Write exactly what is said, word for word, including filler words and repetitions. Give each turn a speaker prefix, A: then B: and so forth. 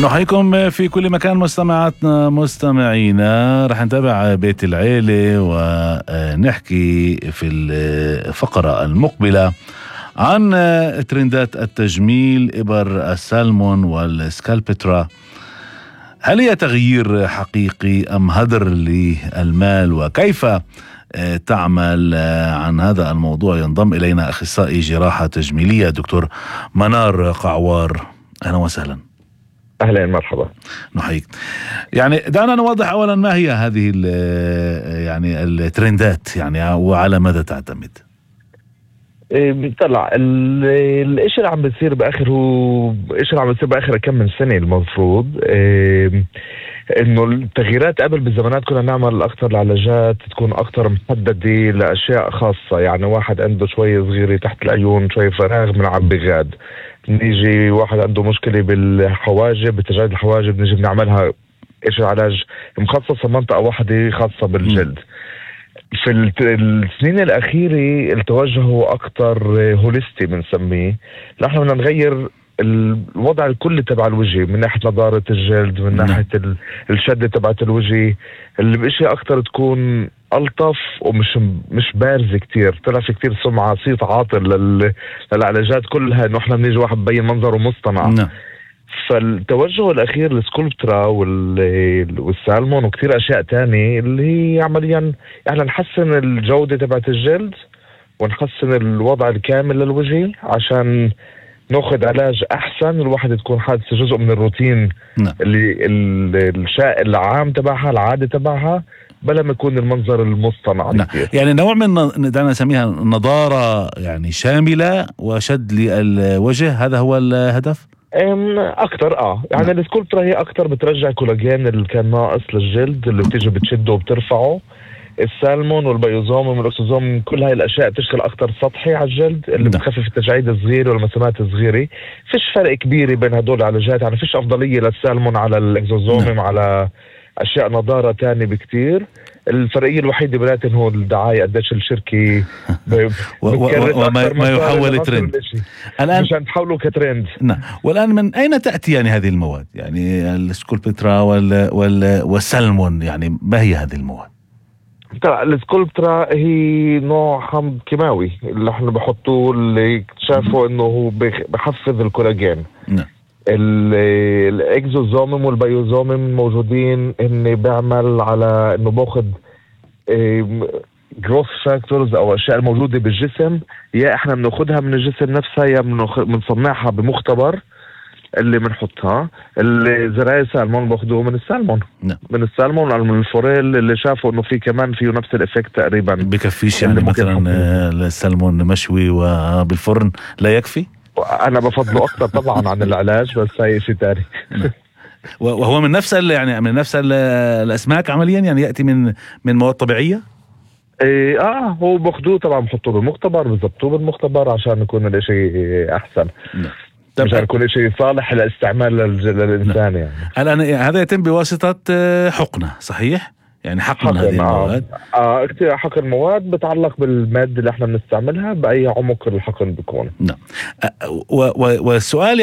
A: نحييكم في كل مكان مستمعاتنا مستمعينا. رح نتابع بيت العيلة ونحكي في الفقرة المقبلة عن ترندات التجميل، إبر السالمون والسكالبترا. هل هي تغيير حقيقي أم هدر للمال؟ وكيف تعمل عن هذا الموضوع؟ ينضم إلينا أخصائي جراحة تجميلية دكتور منار قعوار. أهلا وسهلا.
B: أهلا مرحبا.
A: نحييك. يعني دعنا نوضح أولا ما هي هذه يعني الترندات يعني وعلى ماذا تعتمد؟
B: طلع الاشي اللي عم بيصير باخر هو الاشي اللي عم بيصير باخر كم من سنه المفروض انه التغييرات. قبل بالزمانات كنا نعمل اكثر العلاجات تكون اكثر محدده لاشياء خاصه، يعني واحد عنده شويه صغيره تحت العيون، شويه فراغ بنعبي غاد، نيجي واحد عنده مشكله بالحواجب، بتجاعيد الحواجب، نيجي بنعملها ايش علاج مخصص منطقه واحده خاصه بالجلد. في السنين الأخيرة التوجه هو أكتر هوليستي بنسميه، نحن بدنا نغير الوضع الكلي تبع الوجه من ناحية نضارة الجلد، من ناحية الشدة تبعت الوجه، اللي بإشي أكتر تكون ألطف ومش مش بارزة كتير. طلع في كتير سمعة صيت عاطل للعلاجات كلها إنه إحنا بنيجي واحد ببين منظره مصطنع. فالتوجه الأخير للسكولبترا والسالمون وكتير أشياء تانية اللي هي عمليا يعني نحسن الجودة تبعت الجلد ونحسن الوضع الكامل للوجه عشان ناخد علاج أحسن، الواحد تكون حادثة جزء من الروتين نا. اللي الشائع العام تبعها، العادة تبعها، بلا ما يكون المنظر المصطنع.
A: يعني نوع من دعنا نسميها نضارة يعني شاملة وشد للوجه، هذا هو الهدف؟
B: اكتر اه يعني نعم. السكولبترا هي اكتر بترجع كولاجين اللي كان ناقص للجلد، اللي بتيجي بتشده وبترفعه. السالمون والبيوزوم والاكسوزوم كل هاي الاشياء بتشتغل اكتر سطحي على الجلد، اللي نعم. بتخفف التجاعيد الصغيره والمسامات الصغيره. فيش فرق كبير بين هدول العلاجات، يعني فيش افضليه للسالمون على الاكسوزوم نعم. على اشياء نضاره تانية بكتير. الفرقية الوحيدة بلاتن هو الدعاية، قديش الشركة
A: وما ما يحول ترند
B: الآن مشان تحوله كترند.
A: نعم. والآن من أين تأتي يعني هذه المواد؟ يعني السكولبترا وال وال والسلمون، يعني ما هي هذه المواد؟
B: ترى السكولبترا هي نوع حمض كيماوي اللي احنا بحطوه، اللي اكتشفوا انه هو بحفز الكولاجين. نعم. الاكزوزومم والبيوزومم موجودين اني بعمل على انه باخد جروث فاكتورز او اشياء الموجوده بالجسم، يا احنا بناخدها من الجسم نفسها يا بنصنعها بمختبر اللي بنحطها. الزراعي السالمون باخدوه من السالمون نعم. من السالمون من الفوريل، اللي شافوا انه في كمان فيه نفس الافكت تقريبا.
A: بكفيش يعني مثلا السالمون مشوي وبالفرن لا يكفي؟
B: انا بفضله اكتر طبعا عن العلاج، بس هاي شيء تاني.
A: وهو من نفس يعني من نفس الاسماك عمليا، يعني ياتي من من مواد طبيعيه.
B: ايه اه هو باخذوه طبعا بحطوه بالمختبر، بزبطوه بالمختبر عشان يكون الاشي احسن نعم. عشان يكون شيء صالح للاستعمال للانسان نعم. يعني
A: الان هذا يتم بواسطه حقنه صحيح؟ يعني حقن هذه المواد.
B: اه كثير حقن مواد بتعلق بالماده اللي احنا بنستعملها، باي عمق الحقن بيكون.
A: نعم. والسؤال